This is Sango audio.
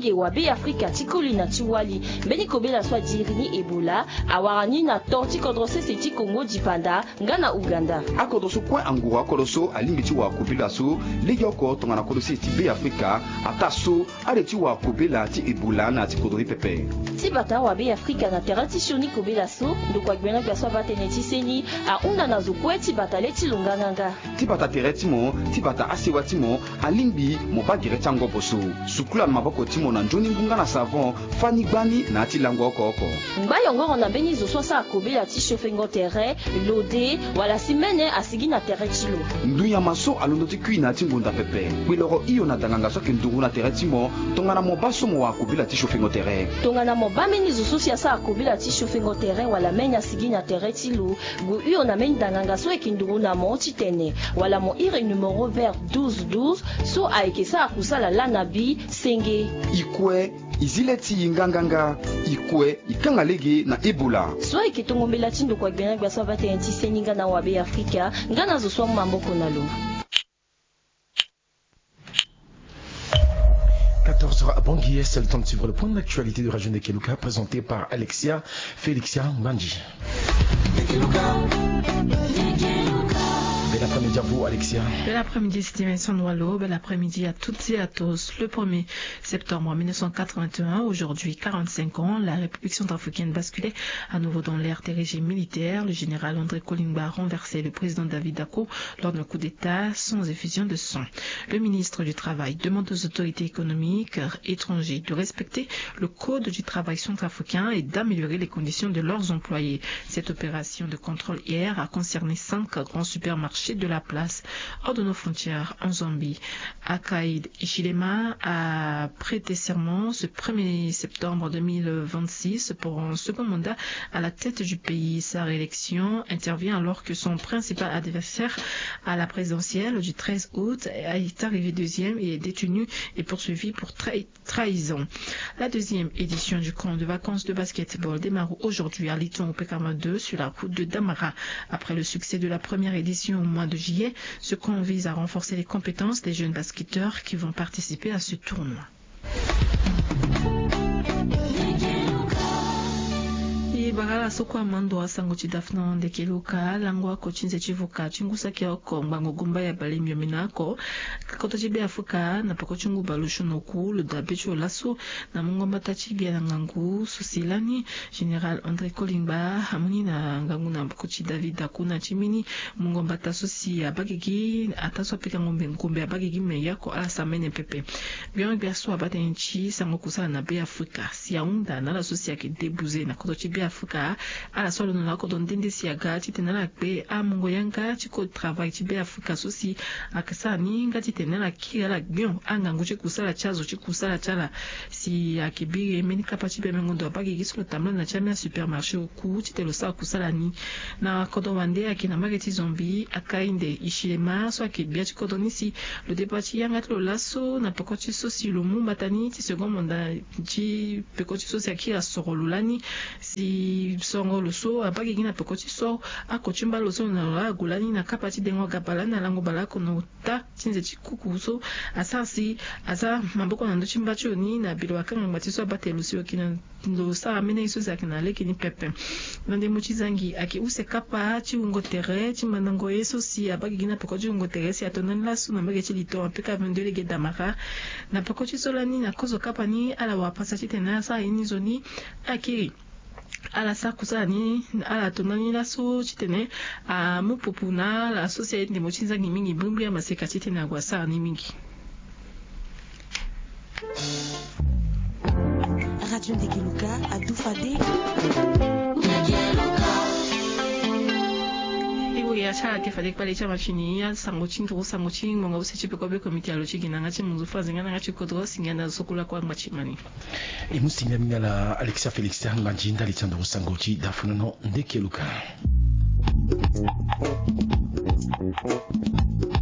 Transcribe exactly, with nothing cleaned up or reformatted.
Ye wa Be Afrika ti koli na ti wali. Mbeni kobela so adiri ni Ebola awara ni na to ti kodro sese ti Kongo dipanda nga na Uganda. Akodro so kue anguru akodro so alingbi ti wa kobela so legeoko tongana kodro sese ti Be Afrika. Ataa so ade ti wa kobela ti Ebola na ya ti kodro ni pepe. Ti bata wa Be Afrika na tere ti sioni kobela so ndokua gbena gbia so abaa tënë ti seni ahunda na zo kue ti bata le ti lo nganganga. Ti bata tere ti mo, ti bata asewa ti mo, alingbi mo baa gere ti angobo so. Sukula na maboko ti mo na nzoni ngu nga na savon, fani gbani na ya ti lango oko oko. Ngba yongoro na mbeni zo so asara kobela ti siofengo tere, lode, wala si mene asigi na tere ti lo. Ndunyama so alondo ti kui na ya ti ngonda pepe. Kpeloro hio na danganga so ayeke nduru na tere ti mo tongana mo baa so mo wa kobela ti siofengo tere. Tongana mo baa mbeni zo so si asara kobela ti siofengo tere wala mene asigi na tere ti lo, gue hio na mbeni danganga so ayeke nduru na mo titene wala mo iri numero vert douze douze so ayeke sara kusala laa na bi senge. I kue, i zi le ti i nganganga. I kue, i kanga lege na Ebola. So ayeke tongo mbela ti ndokua gbena gbia so abaa tënë ti seni nga na wa Be Afrika nga na zo so amu maboko na lo. Quatorze heures à Bangui, c'est le temps de suivre le point de l'actualité de Radio Ndekeluka présenté par Alexia Félixia Mbandi. Bel après-midi à vous, Alexia. Bel après-midi, Stevenson Walo. Bel après-midi à toutes et à tous. Le premier septembre mille neuf cent quatre-vingt-un, aujourd'hui quarante-cinq ans, la République centrafricaine basculait à nouveau dans l'ère des régimes militaires. Le général André Kolingba renversait le président David Dacko lors d'un coup d'État sans effusion de sang. Le ministre du Travail demande aux autorités économiques étrangères de respecter le code du travail centrafricain et d'améliorer les conditions de leurs employés. Cette opération de contrôle hier a concerné cinq grands supermarchés de la place, hors de nos frontières, en Zambie. Akaïd Hichilema a prêté serment ce premier septembre deux mille vingt-six pour un second mandat à la tête du pays. Sa réélection intervient alors que son principal adversaire à la présidentielle du treize août est arrivé deuxième et est détenu et poursuivi pour trahi-, trahison. La deuxième édition du camp de vacances de basketball démarre aujourd'hui à Liton au P K vingt-deux sur la route de Damara. Après le succès de la première édition au mois de juillet, ce camp vise à renforcer les compétences des jeunes basketteurs qui vont participer à ce tournoi. E bara ala so kue amando asango ti dafna ndeke luka lango ako ti nze ti vuka ti ngu saki oko ngbangbo gumba ya bale miomina oko. Koto ti Be Afrika na peko ti ngu bale osio na oku lo dabe ti lo laso na mungo mbata ti gbia na ngangu so si lani Général André Kolingba amoni na ngangu na peko ti David Dakuna ti mbeni mungo mbata so si abagigi ataa so apikango mbe ngombe abagigi me yako ala samene pepe. Gbiongbia so abaa tënë ti sango kusala na Be Afrika si ahunda na ala so si ayeke debuze na koto ti Be Afrika. Ala so alondo na kodro nde nde si aga titene ala kpe amungo yanga ti code travail ti Be Afrika so si ayeke sara ni nga titene ala kiri ala gbion angangu ti kusala ti azo ti kusala ti ala. Si ayeke biri mbeni kapa ti bembengo ndo abagigi so lo tambula na ti ambeni asupermarché oku titene lo sara kusala ni. Na kodro wande ayeke na mbage ti Zambie Hakainde Hichilema so ayeke gbia ti kodro ni si lo deba ti yanga ti lo laso na peko ti so si lo mu mbata ni ti second mandat ti peko ti so si akiri asoro lo lani si songo lo so abagigi na peko ti so ako ti mba lo so na lo ague lani na kapa ti dengo gaba lani na lango baleoko na ota ti nze ti kuku so asara si aza maboko na ndö ti mba ti lo ni na bilo akanga ngba ti so abaa tene lo si lo yeke na lo sara mbeni ye so si ayeke na lege ni pepe. Na ndembo ti zangi ayeke use kapa ti wungo tere ti mandango ye so si abagigi na peko ti wungo tere si ato ndani laso na mbage ti lito apika vingt-deux lege damara. Na peko ti so lani na kozo kapa ni ala wara pasa titene asara ye ni zo ni akiri ala sara kusala ni ala to ndani laso titene amu pupu na ala so si aye ndembo ti nzangi mingi brimbri amaseka titene ague asara ni mingi. Radio Ndekeluka adu fade. Iwe ya ti ala ke fade kpale ti amafini asango ti nduru sango ti ngonga use ti peko be komite alo ti gi na yanga ti munzu faze nga na yanga ti kodro si ngia na zo so kula kue angba ti mani. E mu si ngia mingi ala Alexia Félix angba nzi ndali ti anduru sango ti dafunono Ndekeluka.